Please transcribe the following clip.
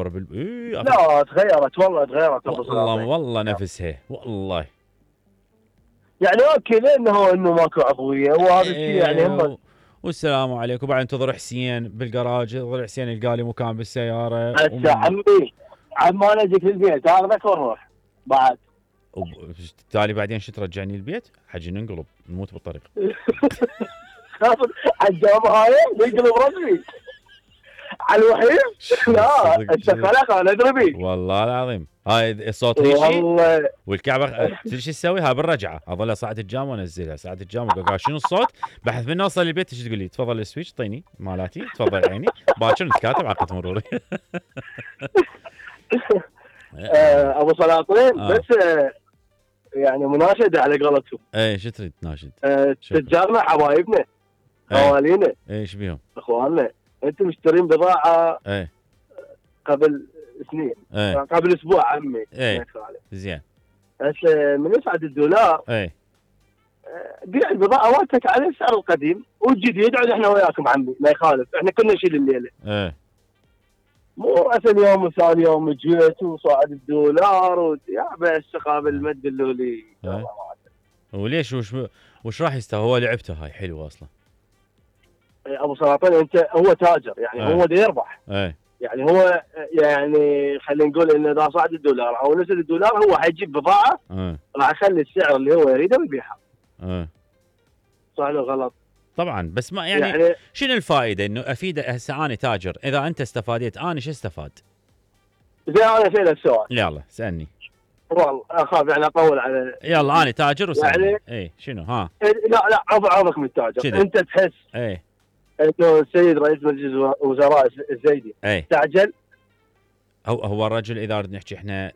الابر لا تغيرت والله، تغيرت ابو والله سلاطين. والله نفسها والله. يعني اوكي انه ماكو عضويه وهذا الشيء يعني هم. والسلام عليكم. وبعدين انتظر حسين بالجراج، انتظر حسين يلقى لي مكان بالسياره. هسه عمي انا اجيك للبيت اخذك ونروح بعد. بالتالي بعدين شو ترجعني البيت؟ حجي ننقلب نموت بالطريق. الجامعه هاي ننقلب رسمي على الوحيد. لا انت خلق انا ادري بيك والله العظيم. هاي الصوت هيجي والله. والكعبه تدري شو تسوي؟ ها بالرجعه اظل ساعه الجام وانزلها ساعه الجام وقاعد شنو الصوت؟ بحث من اوصل البيت ايش تقول لي؟ تفضل السويتش طيني مالاتي، تفضل عيني باكر نتكاتب عقد مروري. ابو سلاطين بس يعني مناشده على قولتهم. اي شو تريد ناشد؟ تجارنا حبايبنا خوالينا ايش بيهم؟ اخواننا انتم مشترين بضاعه قبل سنين قبل اسبوع عمي. زين هسه من يصعد الدولار بيع البضاعه مالتك على السعر القديم والجديد، عاد احنا وياكم عمي ما يخالف، احنا كنا نشيل الليله. مو اصل يوم وثاني يوم جيت وصعد الدولار يا بس قابل ما تدلوا لي. وليش وش راح يستوى؟ هو لعبته هاي حلوه اصلا. ابو سلاطين انت هو تاجر يعني هو دا يربح. يعني هو يعني خلينا نقول انه اذا صعد الدولار او نزل الدولار هو حيجيب بضاعه راح يخلي السعر اللي هو يريده ويبيعها. صح ولا غلط؟ طبعا بس ما يعني شنو الفائده انه افيد؟ هسه انا تاجر، اذا انت استفاديت انا شو استفاد؟ زين انا اسالك سؤال. يلا سالني. والله اخاف يعني اطول على. يلا انا تاجر وسالني. يعني شنو ها؟ لا عوضك من التاجر شدي. انت تحس انه السيد رئيس مجلس الوزراء الزيدي استعجل؟ هو الرجل اذا نحكي احنا